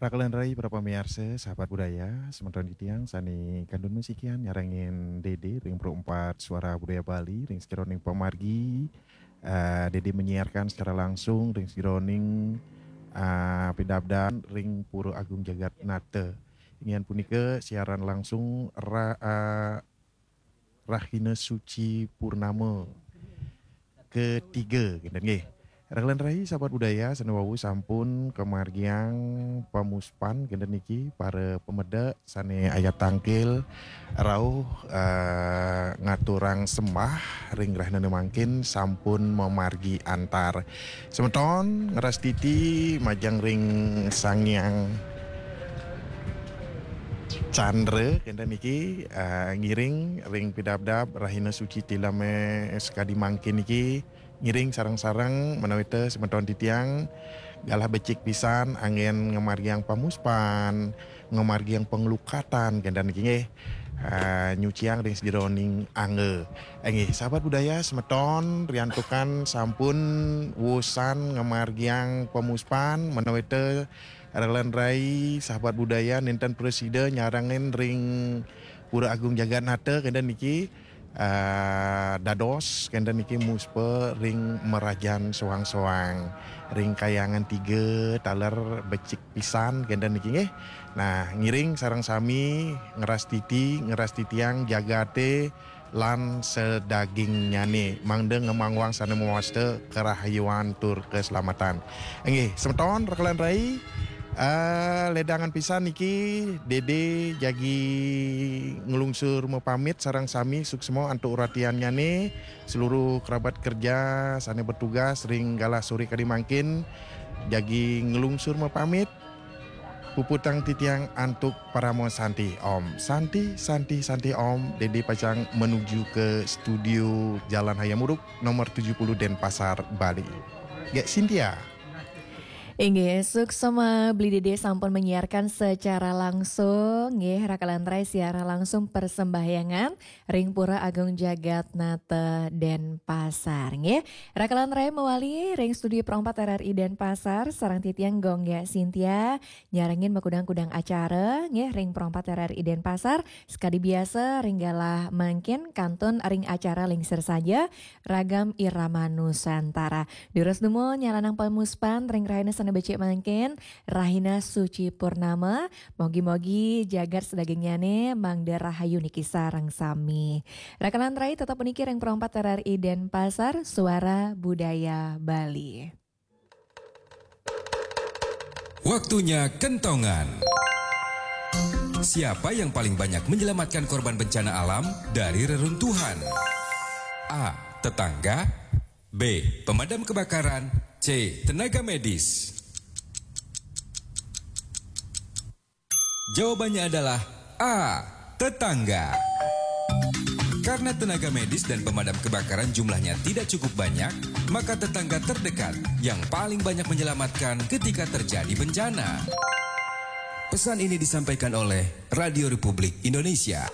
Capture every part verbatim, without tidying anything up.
Rakalan rai para pamiarsa, sahabat budaya, semeton titiang sane kantun masikian nyarengin Dede ring Pro empat Suara Budaya Bali, ring sajeroning pamargi, eh, Dede menyiarkan secara langsung ring sajeroning, eh, pidabdan ring Pura Agung Jagat Nata. Inggih punika siaran langsung ra-, eh, Rahina Suci Purnama ketiga, kinten nggih. Rakalan rai sahabat budaya sane wau sampun kamargiang pamuspan kinten niki, para pamedek sane ayat tangkil rauh, eh, ngaturang sembah ring rahinane mangkin sampun mamargi antar. Semeton ngrastiti majeng ring Sang Hyang Chandra kinten niki, eh, ngiring ring pidabdab Rahina Suci Tileme sakadi mangkin niki, ngiring sareng-sareng menawi te semeton titiang galah becik pisan anggen ngamargiang pamuspan, ngamargiang panglukatan kinten niki nggih. Eh, nyuciang ring sajeroning angga. Eh, nggih, sahabat budaya semeton riantukan sampun wusan ngamargiang pamuspan menawi te rakalan rai sahabat budaya nenten prasida nyarengin ring Pura Agung Jagat Nata kinten niki, eh, dados kinten niki muspa ring marajan soang-soang, ring kayangan tiga taler becik pisan kinten niki nggih. Nah, ngiring sareng sami ngrastiti, ngrastitiang jagate lan sadagingnyane, mangda ngemangwang sane mawasta karahayuan tur keselamatan. Nggih, semeton rakalan rai, eh, ledangan pisan niki Dede jagi nglungsur mapamit sareng sami suksma antuk uratiannyane, seluruh kerabat kerja sane bertugas ring galah sore kadi mangkin jagi nglungsur mapamit. Puputang titiang antuk parama santi. Om Santi, Santi, Santi Om. Dede pacang menuju ke studio Jalan Hayam Wuruk nomor tujuh puluh Denpasar, Bali. Gek Cynthia. Inggih, suksma Beli Dede sampun menyiarkan secara langsung, nggih, rakalan rai siaran langsung persembahyangan ring Pura Agung Jagat Nata Denpasar, nggih. Rakalan rai mawali ring studio Pro empat R R I Denpasar, sareng titiang Gong Gek Cynthia, nyarengin makudang-kudang acara, nggih, ring Pro empat R R I Denpasar, sakadi biasa ring galah mangkin kantun ring acara Lingsir Saja, Ragam Irama Nusantara. Durus dumun nyalanang pamuspan ring rahina sane becik mangkin, Rahina Suci Purnama, mogi-mogi jagat sadagingnyane mangda rahayu niki sareng sami. Rakalan rai tetep puniki ring Pro empat R R I Denpasar, Suara Budaya Bali. Waktunya kentongan. Siapa yang paling banyak menyelamatkan korban bencana alam dari reruntuhan? A. Tetangga. B. Pemadam kebakaran. C. Tenaga medis. Jawabannya adalah A. Tetangga. Karena tenaga medis dan pemadam kebakaran jumlahnya tidak cukup banyak, maka tetangga terdekat yang paling banyak menyelamatkan ketika terjadi bencana. Pesan ini disampaikan oleh Radio Republik Indonesia.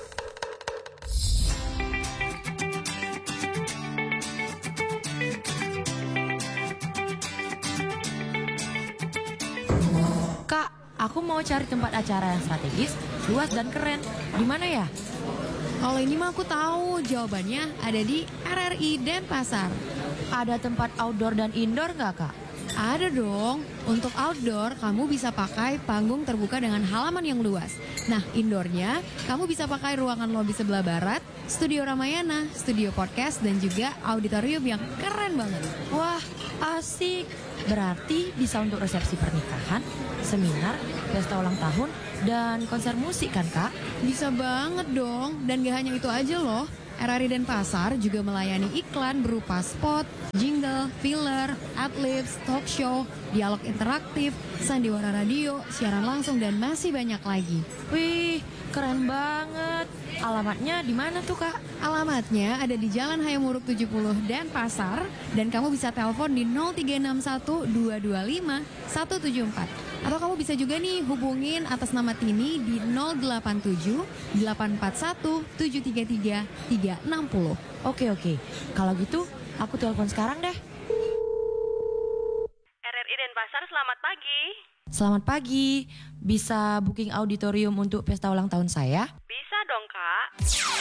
Kak, aku mau cari tempat acara yang strategis, luas dan keren. Di mana ya? Kalau ini mah aku tahu, jawabannya ada di R R I Denpasar. Ada tempat outdoor dan indoor nggak, Kak? Ada dong. Untuk outdoor, kamu bisa pakai panggung terbuka dengan halaman yang luas. Nah, indoornya, kamu bisa pakai ruangan lobi sebelah barat, studio Ramayana, studio podcast, dan juga auditorium yang keren banget. Wah, asik. Berarti bisa untuk resepsi pernikahan, seminar, pesta ulang tahun, dan konser musik kan, Kak? Bisa banget dong. Dan gak hanya itu aja loh. R R I Denpasar juga melayani iklan berupa spot, jingle, filler, adlibs, talk show, dialog interaktif, sandiwara radio, siaran langsung, dan masih banyak lagi. Wih, keren banget. Alamatnya di mana tuh, Kak? Alamatnya ada di Jalan Hayam Wuruk tujuh puluh Denpasar, dan kamu bisa telepon di nol tiga enam satu dua dua lima satu tujuh empat. Atau kamu bisa juga nih hubungin atas nama Tini di nol delapan tujuh delapan empat satu tujuh tiga tiga tiga enam nol. Oke, oke. Kalau gitu, aku telepon sekarang deh. R R I Denpasar, selamat pagi. Selamat pagi, bisa booking auditorium untuk pesta ulang tahun saya? Bisa dong, Kak.